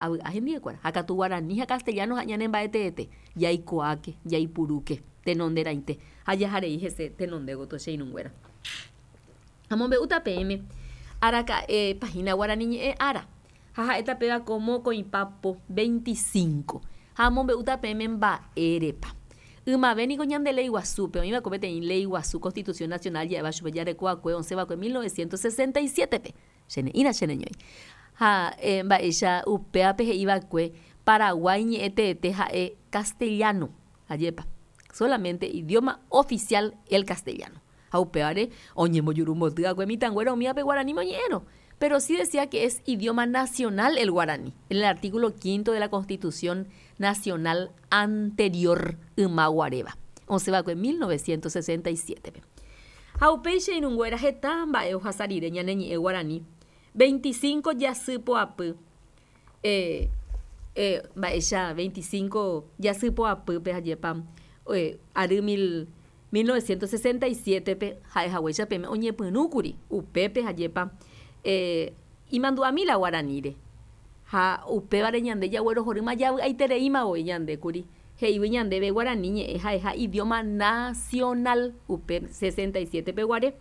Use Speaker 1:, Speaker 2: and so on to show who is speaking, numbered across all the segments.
Speaker 1: Avy'a hendivekuéra, ha katu guarani ha castellano ha ñane mba'eteete, jaikuaáke, jaipurúke tenonderãite ha jaharei hese tenonde gotyo che irũnguéra. Amombe'úta peẽme araka'e páhina guarani ñe'ẽ ára, ha ha'éta péva ko mokõipa po 25, ha amombe'úta peẽme mba'érepa. Ymave niko ñande léi guasúpe, oĩva'ekue peteĩ léi guasu Constitución Nacional ja'éva chupe jareko'akue osẽva'ekue 1967-pe, Che ne'ĩra che reñói. Ha mba'éicha upévape he'i va'ekue Paraguái ñe'ẽ teete ha'e castellano. Ajépa. Solamente idioma oficial el castellano. Ha upévare oñembojurumboty va'ekue mitãnguéra umívape guaraníme oñe'ẽrõ. Pero sí decía que es idioma nacional el guaraní, en el artículo quinto de la Constitución Nacional anterior yma guaréva, osẽ va'ekue 1967-pe. Ha upéi che irũnguéra heta mba'e ohasa rire ñane ñe'ẽ guarani, 25 jasy poapy, eh, eh, mba'éicha 25 jasy poapýpe ajépa, eh, ary mil, 1967-pe ha'e haguéicha peẽme oñepyrũkuri upépe ajépa, eh, imandu'ami la guaraníre. Ha upévare ñande jaguerohorýma javy'aitereíma voi ñande kuri, he'ígui ñandéve guarani ñe'ẽ ha'eha idioma nacional upe 67 peguare.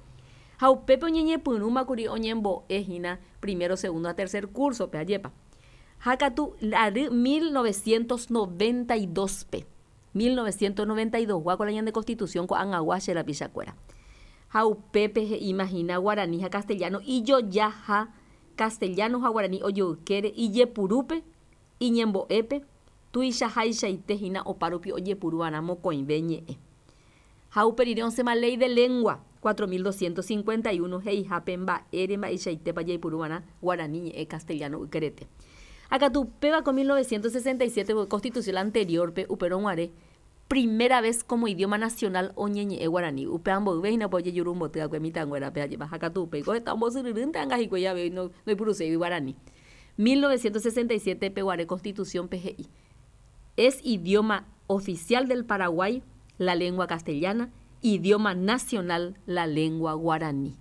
Speaker 1: Ha upépe oñeñepyrũma kuri oñembo'e hína primero, segundo ha tercer curso-pe, ajépa. Ha katu ary 1992-pe, 1992 gua ko la ñande constitución ko'ag̃agua che rapichakuéra. Ha upépe he'íma hína guarani ha castellano ijojaha Castellano ha guarani ojoykére ijepurúpe, iñembo'épe, tuichahaichaite hína opárupi ojepuruva'erã mokõive ñe'ẽ. Ha upe rire osẽma Ley de Lengua 4251 he'ihápe mba'ére mba'eichaitépa jaipuruva'erã guarani ñe'ẽ castellano ykerete. Ha katu upéva ko 1967 voi Constitución anterior-pe upérõ guare Primera vez como idioma nacional oñeñe'ẽ guarani. Upéva mboyve hína upe ojejurumboty va'ekue mitãnguérape ajépa. Ha katu upéi ko heta ombosyryrýnte anga hikuái avei ndoipuruséigui guarani. 1967 pe guare Constitución pe he'i, Es idioma oficial del Paraguay la lengua castellana, idioma nacional la lengua guaraní.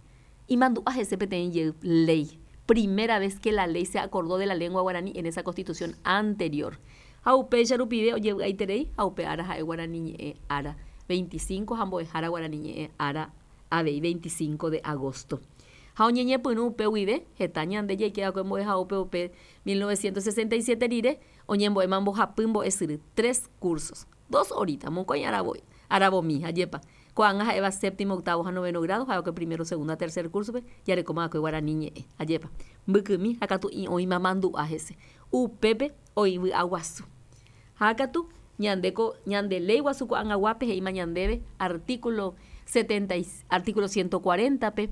Speaker 1: Imandu'a hese peteĩ jey léi, primera vez que la ley se acordó de la lengua guaraní en esa constitución anterior. Ha upéicha rupive ojevy'aiterei ha upe ára ha'e guarani ñe'ẽ ára 25 ha mbo'ehára guarani ñe'ẽ ára avei 25 de agosto. Ha oñeñepyrũ upe guive, heta ñande jaike va'ekue mbo'ehaópe upe 1967 rire, oñembo'éma mbohapy mbo'esyry, tres cursos, dos horita, mokõi ára voi, aravomi, ajépa. Ko'ág̃a ha'éva séptimo, octavo ha noveno grado, ha'éva'ekue primero, segundo ha tercer curso-pe, jarekóma va'ekue guarani ñe'ẽ. Ajépa. Mbykymi ha katu oĩma mandu'a hese. Upépe oĩ vy'a guasu. Ha katu, ñande ko, ñande léi guasu ko'ag̃aguápe he'íma ñandéve artículo setenta y, artículo ciento cuarenta-pe,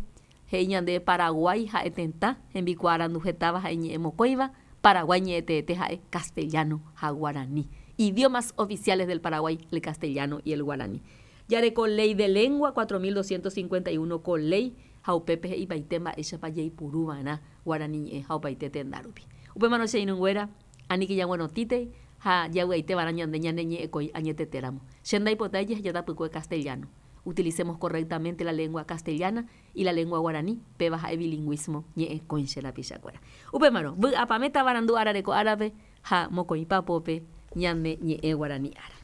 Speaker 1: he'i ñandéve Paraguái ha'e tetã hembikuaarandu hetáva ha iñe'ẽ mokõiva, Paraguái ñe'ẽteete ha'e castellano ha guarani. Idiomas oficiales del Paraguay, el castellano y el guaraní. Jareko Ley de Lengua 4251 ko léi ha upépe he'ipaite mba'éichapa jaipuru va'erã guarani ñe'ẽ ha opaite tenda rupi. Upémarõ che irũnguéra, aníke jaguerotĩtei ha javy'aite va'erã ñande ñane ñe'ẽkõi añetetéramo. Che ndaipotái jeheja tapykue castellano. Utilicemos correctamente la lengua castellana y la lengua guaraní, péva ha'e bilingũismo ñe'ẽkõi che rapichakuéra. Upémarõ, vy'apavẽ tavarandu arareko árape ha mokõipa pópe ñane ñe'ẽ guarani ára.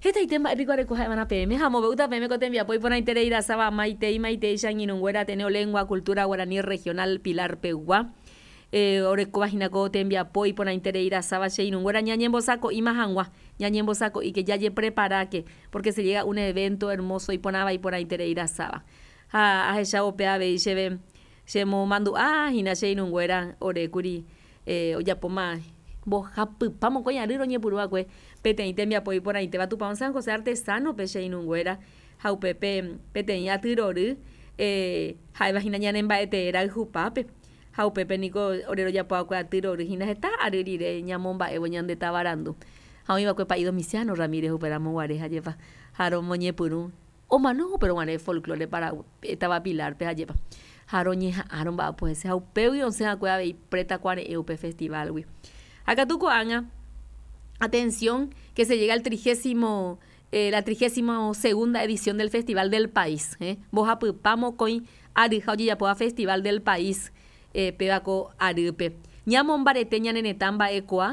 Speaker 1: Hetaite mba'e piko areko ha'evarã peẽme ha amombe'úta peẽme ko tembiapo iporãiterei rasáva maitei maitei che angirũnguéra Ateneo Lengua Cultura Guaraní Regional Pilar pegua orekóva hína ko tembiapo iporãiterei rasáva che irũnguéra ñañembosako'íma hag̃ua ñañembosako'íke jajepreparáke porque se llega un evento hermoso iporãva iporãiterei rasáva ha ahechávo pe avei chéve chemomandu'a hína che irũnguéra orékuri ojapóma mbohapypa mokõi ary roñepyrũ va'ekue peteĩ tembiapo iporãitéva Tupão San José Artesano-pe che irũnguéra ha upépe peteĩ aty rory ha'éva hína ñane mba'etee rayhupápe ha upépe niko ore rojapo va'ekue aty rory hína heta ary rire ñamomba'évo ñande tavarandu ha oĩ va'ekue Pa'i Domiciano Ramírez upéramo guare ha jepa ha romoñepyrũ Omano upérõ guare folklore Paraguay táva Pilar-pe ajépa. Ha roñeha'ã romba'apo hese ha upégui osẽ va'ekue avei Preta Kuare'ẽ upe festival-gui. Ha katu ko'ág̃a, atención, que se llega al trigésimo, la trigésimo segunda edición del Festival del País, mbohapypa mokõi aryha ojejapóva Festival del País péva ko arýpe. Ñamombarete ñane retã mba'ekuaa.